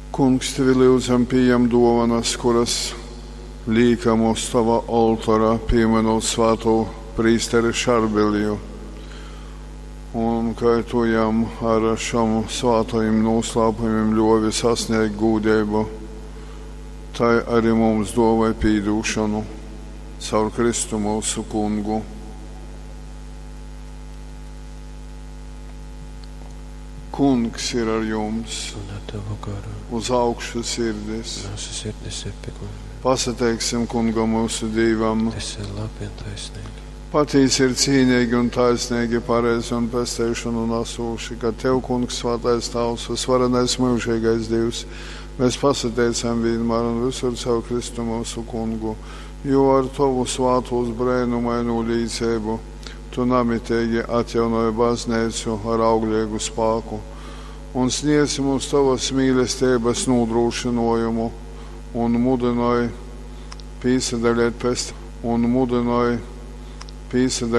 Kungs, tevi lyudzam, pījem dōvonas, kuras līkam uz tova oltora, pīmynūt svātū prīsteri Šarbilju. Un kai tu jam ar šom svātajim nūslāpumim ļōvi sasnēgt gūdeibu, tai arī mums dōvoj pīdūšonu. Caur Kristu myusu Kungu. Kungs ir ar jums. Un ar tavu garu. Uz augšu sirdis. Mūsu sirdis ir pie kunga. Pasateiksim Kungam mūsu Dīvam. Tas ir labi un taisnīgi. Patīsi ir cīnīgi un taisnīgi, pareizi un pesteišanu nesūši, ka Tev, Kungs, svētais Tavs, visvarenais mūžīgais Dievs, mēs pasateicam vienmēr un visur caur Kristu mūsu Kungu, jo ar Tavu svātūs brēnumaino līdzību Tu namitīgi atjaunoji baznīcu ar auglīgu spāku un sniedz mums Tavas mīlestības nodrošinājumu un mudināji pīsadalīt pest un mudināji pīsadalīt.